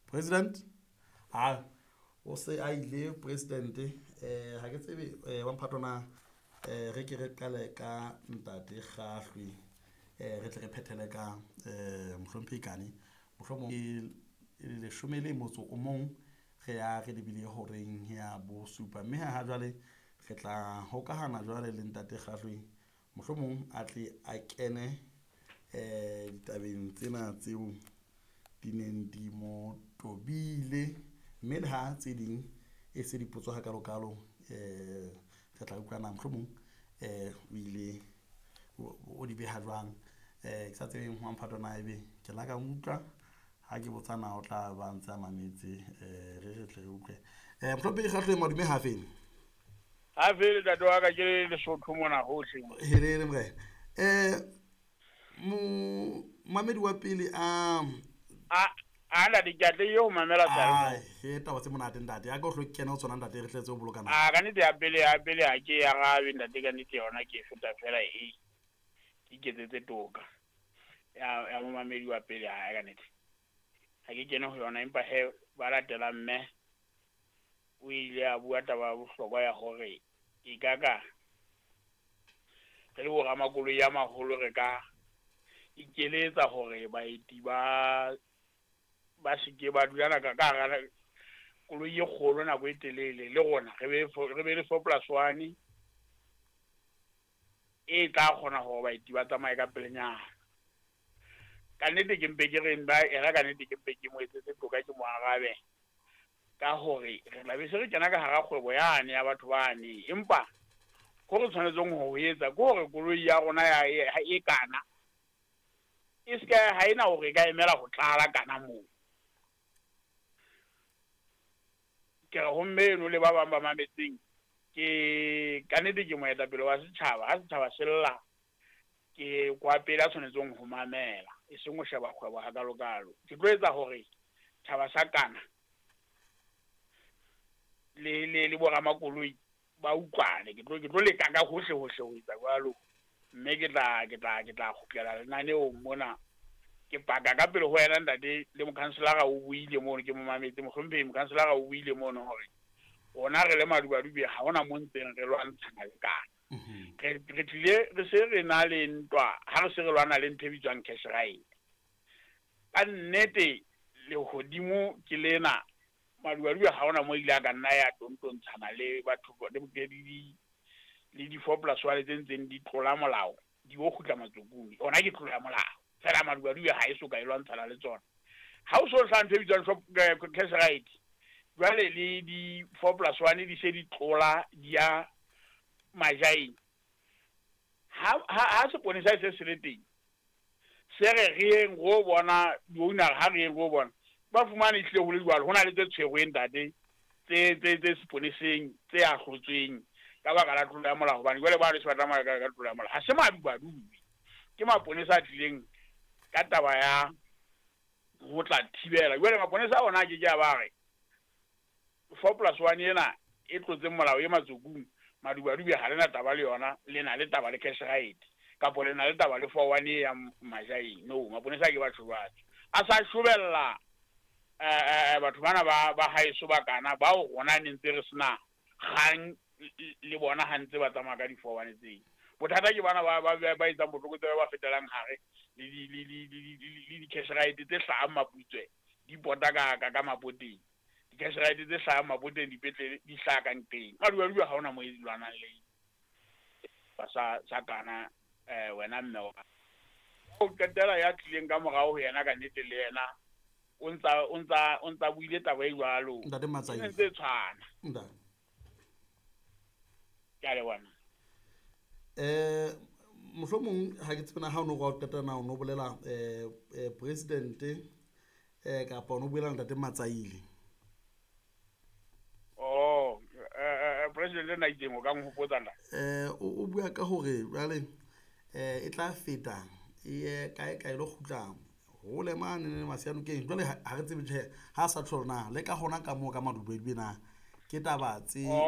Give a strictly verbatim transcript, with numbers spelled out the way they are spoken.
President a o se a ile president. um Ha ke tsebe um wa mphato na, um re ke re qale ka ntate Kgahlwe, um re tle re phethele ka um mohlomphehi Kane. Mohlomong e leshome le motso o mong re ya re lebile horeng ya bosupa, mme ha jwale re tla hokahana jwale le ntate Kgahlwe, mohlomong a tle a kene um ditabeng tsena tseo di neng di mo tobile, mme le ha tse ding e se dipotso hakalo-kalo, um re tla utlwa na mohlomong um o ile o di beha jwang. um Ke sa tsebeng wa mphato na ebe ke la ka utlwa ha ke botsa na o tla ba ntse a mametse. um re re tle re utlwe. um Mohlomphehi Kgahlwe, madume hafeng? Ha fele ntate wa ka, ke Lesotho mona hohle. Helele morena. um momamedi wa pele a A a ntate, ke atlehile ho mamela seyalemoya. He, taba tse monate ntate, ya ka o hlo kena ho tsona ntate, re tletse ho boloka nako. A ka nnete ya pele ya pele ha ke e arabe ntate, ka nnete yona ke e feta fela, e ke iketsetse toka. Ya ya momamedi wa pele ha ka nnete. Ha ke kene ho yona, empa he ba latelang mme o ile a bua taba ya bohlokwa ya hore e ka ka re le bo ramakoloi a maholo re ka ikeletsa hore baeti ba ba seke ba dula ka ka hara koloi e kgolo nako e telele, le rona re be re be le four plus one e tla kgona hore baeti ba tsamaye ka pelenyana. Ka nnete ke mpe ke re ba era, ka nnete ke mpe ke mo etsetse toka, ke mo arabe ka hore re tla be se re kena ka hara kgwebo yane ya batho bane, empa ho re tshwanetseng ho etsa ke hore koloi ya rona ya e kana e se ka ha ena hore e ka emela ho tlala kana moo. Ke re ho mme eno le ba bang ba mametseng, ke ka nnete ke moetapele wa setjhaba. Ha setjhaba se lla, ke kwa pele a tshwanetseng ho mamela, e seng ho sheba kgwebo hakalo-kalo. Ke tlo etsa hore tjhaba sa kana le le le boramakoloi ba utlwane. Ke tlo ke tlo leka ka hohle hohle ho etsa jwalo, mme ke tla ke tla ke tla kgutlela lenaneong mona. Ke paka ka pele ho wena ntate, le mokhanselara o buile mono, ke mo mametse mohlomphehi mokhanselara o buile mono hore rona re le Madubadube ha hona mo ntseng re lwantshana le kana. Re re tlile re se re na le ntwa ha re se re lwana le ntho e bitswang cash right. Ka nnete lehodimo ke lena, Madubadube ha hona mo ile a ka nna ya tontontshana le batho le di le di four plus one tse ntseng di tlola molao, di o kgutla matsokong. Ona ke tlola molao fela, Madubadube ha e so ka e lwantshana le tsona. Ha o so hlaha ntho e bitswang shop cash right, jwale le di four plus one di se di tlola di ya majaeng. Ha ha ha seponesa se se le teng, se re re yeng ro bona di-owner, ha re yeng ro bona ba fumane ehlile ho le jwalo. Ho na le tse tshwerweng ntate, tse tse tse seponeseng tse ahlotsweng ka baka la tlolo ya molao, hobane jwale ba se ba tsamaya ka ka tlolo ya molao. Ha se Madubadube, ke maponesa a tlileng ka taba ya ho tla thibela. Jwale maponesa ona a ke ke a ba re four plus one ena e tlotseng molao e matsokung, Madubadube ha lena taba le yona, le na le taba le cash right kapo le na le taba le four one e ya majaeng. No, maponesa ke batho batho a sa shobella eh batho bana ba ba haeso ba kana bao rona ne ntse re sena kgang le bona ha ntse ba tsamaya ka di four one tseo. Bothata ke bana ba ba ba etsang botlokotsebe ba fetelang hare le di le di le di cash right tse hlahang Maputswe di pota ka ka ka mapoteng. Di cash right tse hlahang mapoteng dipetlele di hlaha ka nqeng. Madubadube ha hona mo e lwanang le ba sa sa kana eh wena mme wa. O qetela ya tlileng ka morao ho yena ka nnete le yena o ntsa o ntsa o ntsa buile taba e jwalo. Ntate Matsaile. Ntse tshwana. Ntate. Ke a leboha. Eh mohlomong ha ke tsebe na ha o no go qeta na o no bolela eh president eh kapa o no buela ntate Matsaile. Oh, eh president na itseng o ka nhopotsa nna. Eh o bua ka hore jwale eh e tla feta e kae kae lo kgutla hole mane le Masianokeng. Jwale ha re tsebe tjhe ha sa tsholo na le ka hona ka moo ka Madubadube na ke taba tse